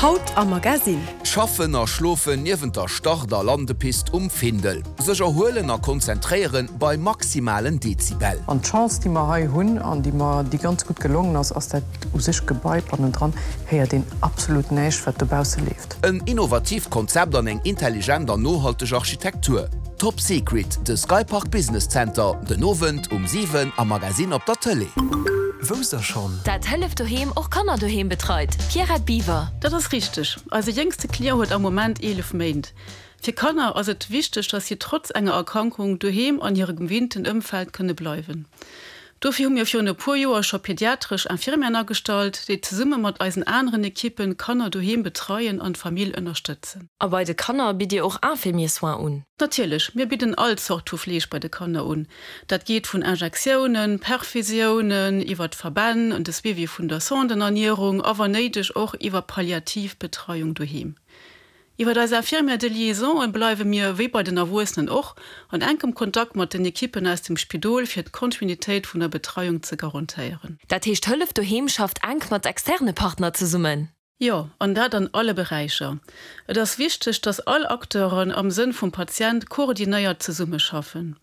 Haut am Magasinn. Schaffen a schlofen niewent der Start a Landepist um Findel. Sech erhuelen a konzentréieren bei maximalen Dezibel. An d'Chance, déi mer hei hunn an déi mer, déi ganz gutt gelongen ass, ass dat u sech Gebai bannendran héiert een absolut näischt, wat dobausse leeft. En innovatiivt Konzept an eng intelligent an nohalteg Architektur. Top Secret, de Skypark Business Center, den Owend um 7 am Magazine op der Tëlee. Wousst der schonn? Dat Hëllef Doheem och Kanner doheem betreit, Pierrette Biwer. Dat ass richteg. Eise jéngste Client huet am Moment 11 Méint. Fir Kanner ass et wichteg, dass si trotz enger Erkrankung doheem an hirem gewinnten Ëmfeld kënne bleiwen. Dofir hu mir virun e puer Joer scho pediatresch Infirmieren agestallt, déi zesumme mat eisen aneren Ekippen d'Kanner doheem betreien an d'Famill ënnerstëtzen. A bei de Kanner bitt Dir och Infirmier-Soins un? Natierlech, mir bidden all Zort vu Fleeg bei de Kanner un. Dat geet vun Injektiounen, Perfusiounen, iwwer d'Verbänn an de Suivi vun der Sondenernierung a wann néideg och iwwer palliativ Betreiung doheem. Iwwer eis Infirmière de liaison bleiwe mir, wéi bei den Erwuessenen och, an enkem Kontakt mat den Ekippen aus dem Spidol fir d'Kontinuitéit vun der Betreiung ze garantéieren. Dat heescht Hëllef Doheem schafft enk mat externe Partner zesummen? Jo, an dat an alle Beräicher. Et ass wichteg, dass all Acteuren am Sënn vum Patient koordinéiert zesummeschaffen.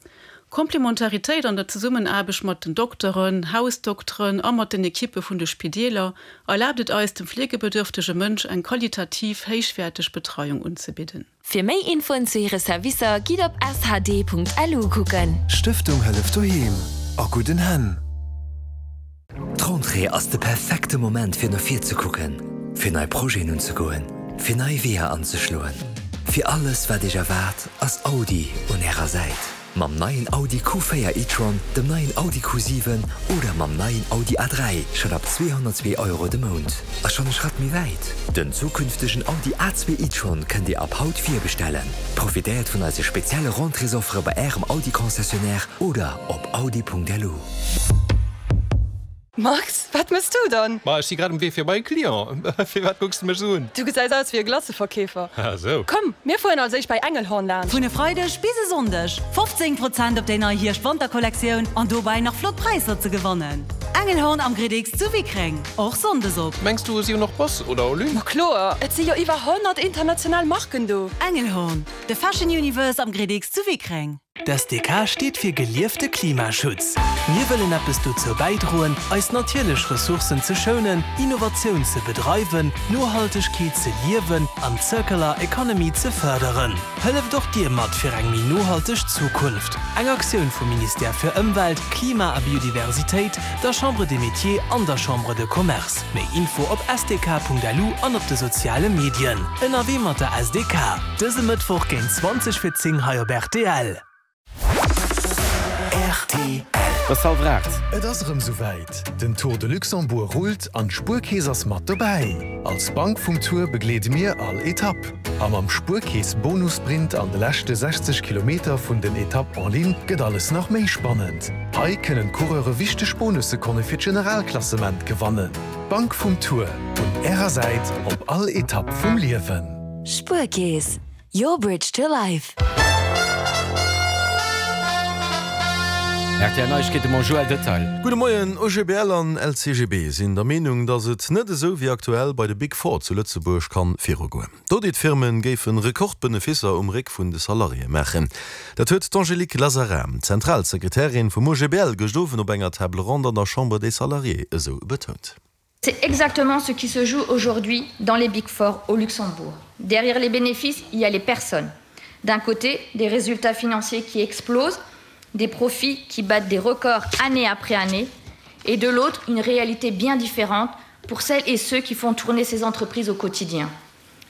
Komplementaritéit an der Zesummenaarbecht mat den Dokteren, Hausdokteren a mat den Ekippe vun de Spideeler erlaabt et eis, dem fleegebedürftege Mënsch eng qualitativ héichwäerteg Betreiung unzebidden. Fir méi Infoen zu hire Servicer gitt op shd.lu kucken. Stëftung Hëllef Doheem, a gudden Hänn! D'Rentrée ass de perfekte Moment fir no vir ze kucken, fir nei Projeten unzegoen, fir nei Weeër anzeschloen. Fir alles wat Iech erwaart, ass Audi un Ärer Säit. Mam neien Audi Q4 e-tron, dem neien Audi Q7 oder mam neien Audi A3 schonn ab 202 Euro de Mount. A schonn e Schratt méi wäit, Den zukünftegen Audi A2 e-tron kënnt Dir ab haut virbestellen. Profitéiert vun eise spezielle Rentréesoffere bei Ärem Audi-Concessionnaire oder op audi.lu. Max, wat mëss du dann? Ma ech si grad um Wee fir bei e Client. Firwat kucks de mech esou un? Du gesäis aus wéi e Glaceverkeefer. Ah sou. Komm, mir fueren als éischt bei Engelhorn laanscht. Vun e Freideg bis e Sonndeg 15 Prozent op déi nei Hierscht-Wanter-Kollektioun an dobäi nach flott Präisser ze gewannen. Engelhorn am Gridix zu Wickreng, och Sonndes op. Mengs du si hunn och Boss oder Olü? Ma kloer, et si jo iwwer 100 international Marken do. Engelhorn, de Fashion Universe am Gridix zu Wickreng. D'SDK steet fir geliefte Klimaschutz. Mir wëllen eppes dozou bäidroen, eis natierlech Ressourcen ze schounen, Innovatioun ze bedreiwen, Nohaltegkeet ze liewen an d'Circular Economy ze fërderen. Hëlleft och Dir mat fir eng méi nohalteg Zukunft! Eng Aktioun vum Ministère fir Ëmwelt, Klima a Biodiversitéit, der Chambre des Métiers an der Chambre de Commerce. Méi Info op sdk.lu an op de soziale Medien. Ënnerwee mat der SDK. Dëse Mëttwoch géint 20 vir 10 hei op rtl. Rtl. Et ass hallwer 8. Et ass erëm souwäit, Den Tour de Luxembourg rullt an d'Spuerkeess ass mat dobäi! Als Bank vum Tour begleede mir all Etapp. A mam Spuerkeess Bonussprint an de leschte 60 Kilometer vun den Etapp en ligne gëtt alles nach méi spannend. Hei kënnen d'Coureure wichteg Bonussekonne fir d'Generalklassement gewannen. D'Bank vum Tour, un Ärer Säit op all Etapp vum Liewen. Spuerkeess, your bridge to life. Rtl Neiegkeete mam Joël Detail. Gudde Moien, OGBL an LCGB sinn der Meenung, datt et net esou wéi aktuell bei de Big Four zu Lëtzebuerg kann virugoen. D'Auditfirmen géifen Rekordbenefisser um Réck vun de Salariéë maachen. Dat huet d'Angélique Lazarin, Zentralsekretärin vum OGBL, gëscht Owend op enger Table ronde an der Chambre des Salariés esou betount. C'est exactement ce qui se joue aujourd'hui dans les Big Four au Luxembourg. Derrière les bénéfices, il y a les personnes. D'un côté, des résultats financiers qui explosent, des profits qui battent des records année après année, et de l'autre, une réalité bien différente pour celles et ceux qui font tourner ces entreprises au quotidien.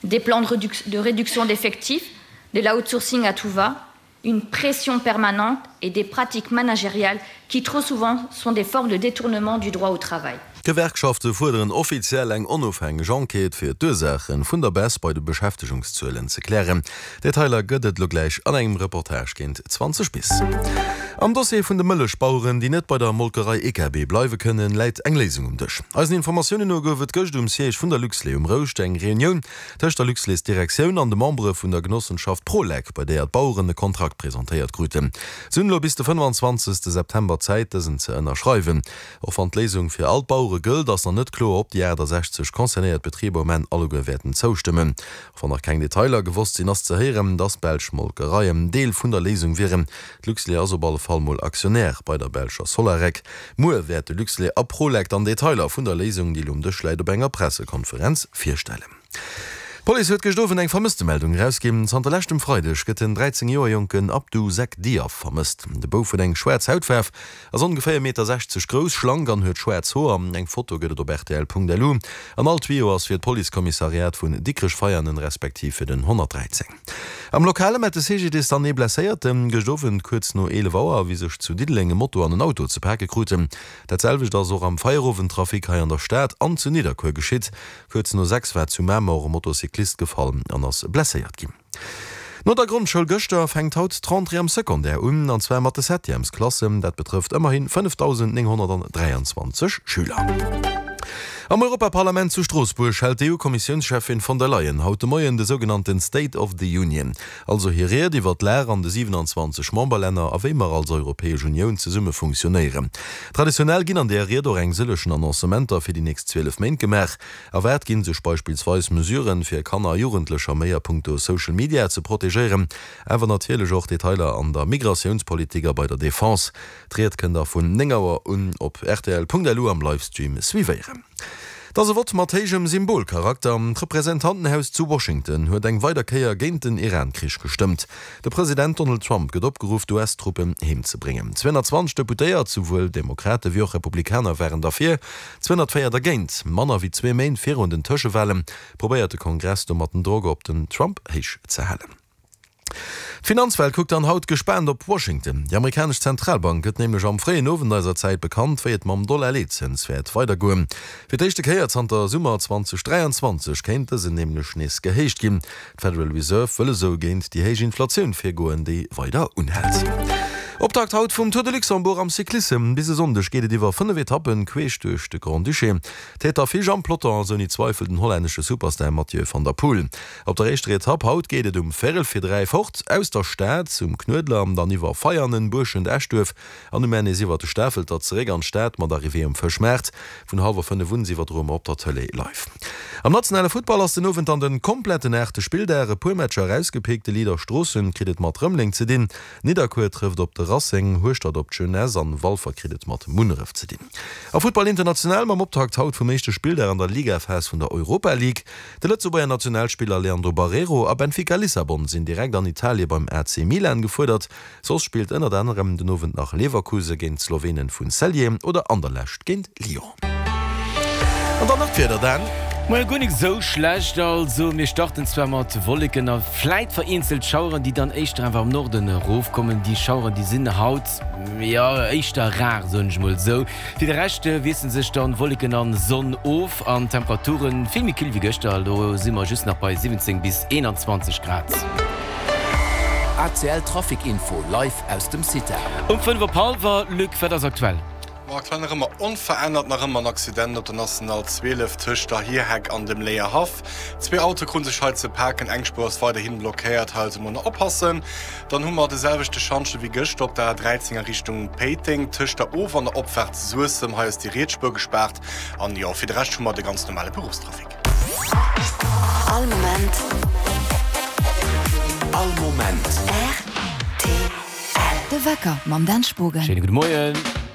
Des plans de, réduc de réduction d'effectifs, de l'outsourcing à tout va, une pression permanente et des pratiques managériales qui trop souvent sont des formes de détournement du droit au travail. D'Gewerkschafte fuerderen offiziell eng onofhängeg Enquête, fir d'Ursaache vun der Baisse bei de Beschäftegungszuelen ze klären. Detailer gëtt et elo gläich an engem Reportage géint 20 bis. Am Dossier vun de Mëllechbaueren, déi net bei der Molkerei EKB bleiwe kënnen, läit eng Léisung um Dësch. Eisen Informatiounen no gouf et gëscht um Siège vun der Luxlait um Rouscht eng Reunioun tëscht der Luxlait-Direktioun an de Membere vun der Genossenschaft Prolec, bei deeër d'Baueren e Kontrakt presentéiert kruten. Se hunn elo bis de 25 September Zäit, dësen ze ënnerschreiwen. Och wann d'Léisung fir all d'Bauere gëllt, ass nach net kloer, ob déi 68 concernéiert Betriber um Enn alleguer wäerten zoustëmmen. Och wann nach keng Detailer gewosst sinn, ass ze héieren, dass belsch Molkereien Deel vun der Léisung wieren. D'Luxlait ass op alle Fall mol Aktionär bei der belscher Solarec. Muer wäerte Luxlait a Prolec dann Detailer vun der Léisung, déi elo um Dësch läit, op enger Pressekonferenz virstellen. D'Police huet gëscht Owend eng Vermësstemeldung erausginn. Zanter leschtem Freideg gëtt den 13 Joer jonken Abdou Seck Diaf vermësst. De Bouf huet eng schwaarz Hautfaarf, Ass ongeféier Meter 60 grouss, schlank an huet schwaarz Hoer. Eng Foto gëtt et op rtl.lu. An all Tuyau ass fir d'Policekommissariat vun Dikrech-Veianen respektiv fir den 113. Am Lokale mellt de CGDIS dann ee Blesséierten. Gëscht Owend kuerz no 11 Auer, wéi sech zu Diddeleng e Moto an en Auto ze pake kruten. Dat selwecht ass och am Feierowendtrafic hei an der Stad an zu Nidderkuer geschitt. Kuerz no 6 war zu Mamer och e Motocyclist gefall an ass blesséiert ginn. No der Grondschoul gëschter fänkt haut d'Rentrée am Secondaire un, an zwar mat de Septièmesklassen. Dat betrëfft ëmmerhi 5.923 Schüler. Am Europaparlament zu Stroossbuerg hält d'EU-Kommissiounscheffin von der Leyen haut de Moien de sougenannten State of the Union, also hir Ried iwwer d'Lag an de 27 Memberlänner a wéi mer als Europäesch Unioun zesumme funktionéieren. Traditionell ginn an där Ried och eng sëllechen Annoncementer fir déi nächst 12 Méint gemaach. Erwaart ginn sech beispillsweis Mesuren, fir Kanner a Jugendlecher méi a punkto Social Media ze protegéieren, awer natierlech och Detailer an der Migratiounspolitik a bei der Defense. D'Ried kënnt der vun 9 Auer un op rtl.lu am Livestream suivéieren. Et ass e Vott mat héijem Symbolcharakter. D'Representantenhaus zu Washington huet eng weider Kéier géint den Iran-Krich gestëmmt. De President Donald Trump gëtt opgeruff, d'US-Truppen heem ze bréngen. 220 Deputéiert, souwuel Demokrate wéi och Republikaner, waren derfir. 204 dergéint. Manner wéi zwee Méint virun den Tëschewalen probéiert de Kongress domat den Drock op den Trump héich ze halen. D'Finanzwelt kuckt dann haut gespaant op Washington. Déi amerikanesch Zentralbank gëtt nämlech am fréien Owend eiser Zäit bekannt, wéi et mam Dollar-Leetzëns wäert weidergoen. Fir d'éischte Kéier zanter Summer 2023 kéint dësen nämlech nees gehéicht ginn. D'Federal Reserve wëll esou géint déi héich Inflatioun virgoen, déi weider unhält. Optakt haut vum Tour de Luxembourg am Cyclissem. Bis e Sonndeg geet et iwwer 5 Etappen queesch duerch de Grand-Duché. Tête d'affiche am Peloton ass ouni Zweifel den hollännesche Superstar Mathieu van der Poel. Op der éischter Etapp haut geet et um véierel fir 3 fort aus der Stad zum Knuedler, dann iwwer Veianen, Buerschent, Eschduerf An um Enn nees iwwert de Stafelter zeréck an d'Stad mat Arrivée um Fëschmaart. Vun hallwer 5 un iwwerdroe mer op der Tëlee live. Am nationale Futtball ass den Owend dann den kompletten aachte Spilldag. E puer Matcher erausgepickt, De Leader Stroossen kritt et mat Rëmeleng ze dinn, Nidderkuer trëfft op de Racing, Hueschtert op d'Jeunesse an Walfer kritt et mat Munneref ze dinn. A Futtball international mam Optakt haut vum éischte Spilldag an der Ligaphas vun der Europa League. De Lëtzebuerger Nationalspiller Leandro Barreiro a Benfica Lissabon sinn direkt an Italie beim AC Milan gefuerdert. Soss spillt ënnert anerem den Owend nach Leverkusen géint d'Slowenen vun Celje oder Anderlecht géint Lyon. An dann nach d'Wieder, Dan. Moie, guer nik esou schlecht. Also mir starten zwar mat Wolleken a fläit vereenzelt Schaueren, déi dann éischter awer am Norden erofkommen. Déi Schaueren, déi sinn haut, jo, éischter rar, soen ech mol esou. Fir de Rescht wiessele sech dann Wolleken an Sonn of an Temperaturen vill méi küll wéi gëschter. Elo si mer just nach bei 17 bis 21 Grad. ACL Trafic Info live aus dem CITA. Um 5 op hallwer, Luc, wat ass aktuell? Ma aktuell nach ëmmer onverännert, nach ëmmer en Accident op der National 12 tëscht der Hierheck an dem Léierhaff. Zwee Autoe krute sech hei ze paken, eng Spuer ass weiderhi blockéiert, hei also mol nach oppassen. Dann hu mer de selwechte Schantje wéi gëschter op der A13 a Richtung Péiteng, tëscht der Of an der Opfaart Suessem. Hei ass déi riets Spuer gespaart an jo, fir de Rescht hu mer de ganz normale Beruffstrafic. All Moment. All Moment. Rtl. De Wecker mam Dan Spogen. Schéine gudde Moien.